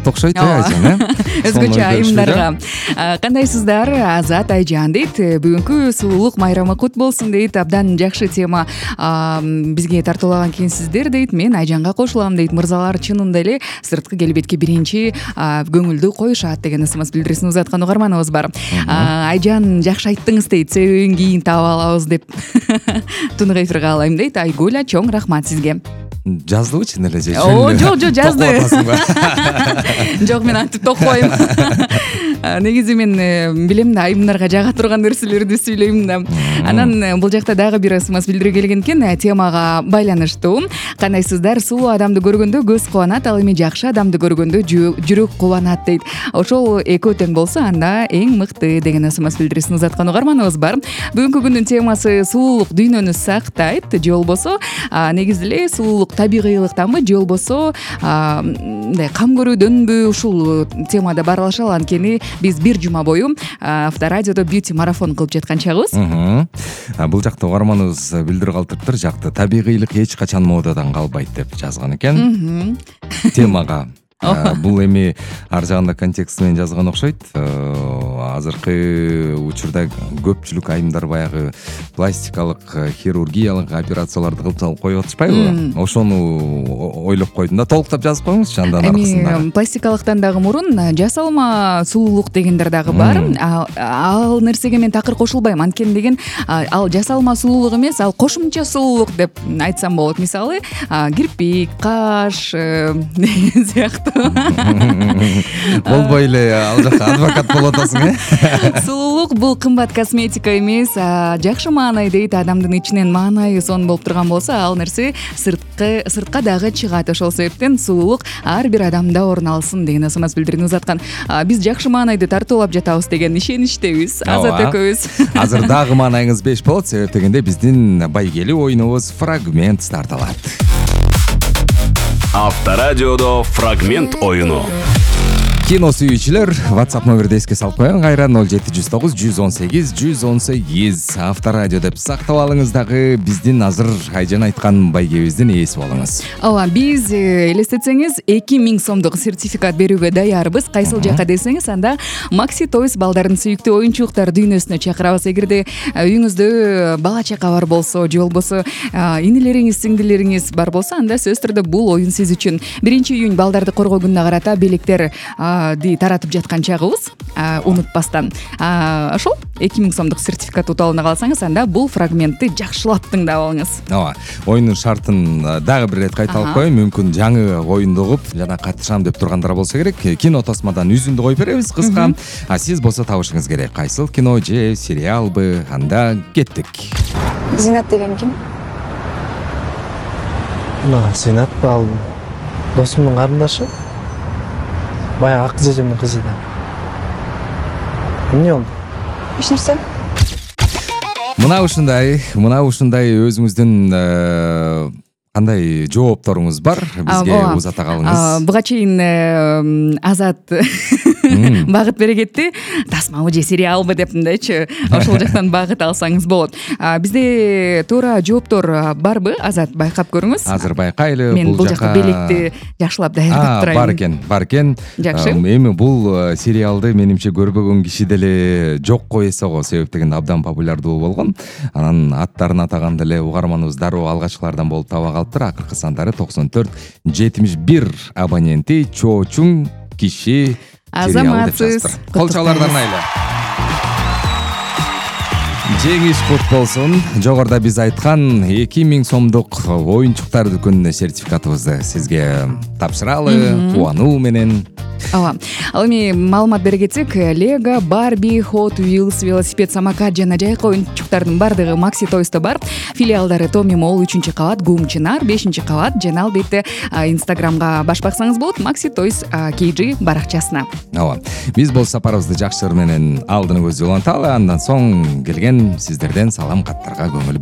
сулуулукта окшойт Айжан, өзгөчө айымдарга. Кандайсыздар? Азат Айжан дейт. Бүгүнкү сулуулук майрамы кут болсун дейт. Абдан жакшы тема бизге тартуулаган экенсиздер дейт. Мен Айжанга кошулам дейт. Мырзалар чынында эле сырткы келбетке биринчи көңүлдү коюшат деген смс билдирисин узаткан угарманыбыз бар. Айжан жакшы айттыңыз дейт. Себебин кийин таап алабыз деп тунук эфирге алайм дейт. Айгуля, чоң рахмат сизге. Жаздыбы чын эле же? Жок, жазды. Жок, мен антип токпойм. Негизи мен билем да, айымдарга жага турган нерселерди сүйлөйм да. Анан бул жакта дагы бир смс билдирүү келген экен, темага байланыштуу. Кандайсыздар? Сулуу адамды көргөндө көз кубанат, ал эми жакшы адамды көргөндө жүрөк кубанат дейт. Ошол экөө тең болсо, анда эң мыкты деген смс билдирисин узаткан угарманыбыз бар. Бүгүнкү күндүн темасы сулуулук дүйнөнү сактайт, же болбосо негизи эле сулуулук табигыйлыктанбы, же болбосо кам көрүүдөнбү, ушул темада баарлашалы. Анткени биз бир жума бою Авторадиодо бьюти марафон кылып жаткан чагыбыз. Бул жакта угарманыбыз билдирип калтырыптыр. Жакты табигыйлык эч качан модадан калбайт деп жазган экен темага. Бул эми ар жагында контекст менен жазган окшойт. Азыркы учурда көпчүлүк айымдар баягы пластикалык, хирургиялык операцияларды кылып салып коюп атышпайбы? Ошону ойлоп койдум да, толуктап жазып коюңузчу андан аркасында. Эми пластикалыктан дагы мурун жасалма сулуулук дегендер дагы бар. Ал нерсеге мен такыр кошулбайм. Анткени деген ал жасалма сулуулук эмес, ал кошумча сулуулук деп айтсам болот. Мисалы, кирпик, каш деген сыяктуу. Болбой эле ал жакка адвокат болуп атасың, Сулуулук бул кымбат косметика эмес, жакшы маанай дейт. Адамдын ичинен маанайы сонун болуп турган болсо, ал нерсе сыртка дагы чыгат. Ошол себептен сулуулук ар бир адамда орун алсын деген смс билдирүүнү узаткан. Биз жакшы маанайды тартуулап жатабыз деген ишеничтебиз. Азат экөөбүз. Азыр дагы маанайыңыз беш болот, себеп дегенде биздин байгелүү оюнубуз фрагмент старталат. Авторадиодо фрагмент оюну. Кино сүйүүчүлөр, WhatsApp номерди эске салып коеюн. Кайра 0709 118 118 Авторадио деп сактап алыңыз. Дагы биздин азыр Айжан айткан байгебиздин ээси болуңуз. Ооба, биз элестетсеңиз 2000 сомдук сертификат берүүгө даярбыз. Кайсыл жака десеңиз, анда Maxi Toys балдардын сүйүктүү оюнчуктар дүйнөсүнө чакырабыз. Эгерде үйүңүздө бала чака бар болсо, же болбосо инилериңиз, сиңдилериңиз бар болсо, анда сөзсүз түрдө бул оюн сиз үчүн. 1-июнь балдарды коргоо күнүнө карата белектер таратып жаткан чагыбыз, унутпастан. Ошол 2000 сомдук сертификат утуп алына калсаңыз, анда бул фрагментти жакшылап тыңдап алыңыз. Ооба, оюндун шартын дагы бир ирет кайталап коеюн. Мүмкүн жаңы оюнду угуп, жана катышам деп тургандар болсо керек. Кино тосмадан үзүндү коюп беребиз кыска. Сиз болсо табышыңыз керек. Кайсыл кино же сериалбы? Анда кеттик. Зинат деген ким? Зинат ал досумдун карындашы. Баягы ак жежемдин кызы да. Эмне болду? Эч нерсе. Мына ушундай өзүңүздүн кандай жоопторуңуз бар? Бизге узата калыңыз. Буга чейин Азат багыт бере кетти. Тасмабы же сериалбы деп мындайчы. Ошол жактан багыт алсаңыз болот. Бизде туура жооптор барбы? Азат, байкап көрүңүз. Азыр байкайлы. Мен бул жака белекти жакшылап даярдап турайын. Бар экен. Жакшы. Эми бул сериалды менимче көрбөгөн киши деле жок го эсе го, себеп дегенде абдан популярдуу болгон. Анан аттарын атаган деле угарманыбыз дароо алгачкылардан болуп таба калыптыр. Акыркы сандары 94-71 абоненти чоочуң киши азаматсыз. Кол чалардан айлы. Жеңиш кут болсун. Жогоруда биз айткан 2000 сомдук оюнчуктар дүкөнүнө сертификатыбызды сизге тапшыралы, кубануу менен. Ооба. Ал эми маалымат бере кетсек, Lego, Barbie, Hot Wheels, велосипед, самокат жана жайкы оюнчуктардын бардыгы Maxi Toys'та бар. Филиалдары Томи Молл 3-кабат, Гум Чынар 5-кабат жана албетте Instagramга баш баксаңыз болот, Maxi Toys KG баракчасына. Ооба. Биз бул сапарыбызды жакшы менен алдыны көздөй уланталы, андан соң келген сиздерден салам каттарга көңүл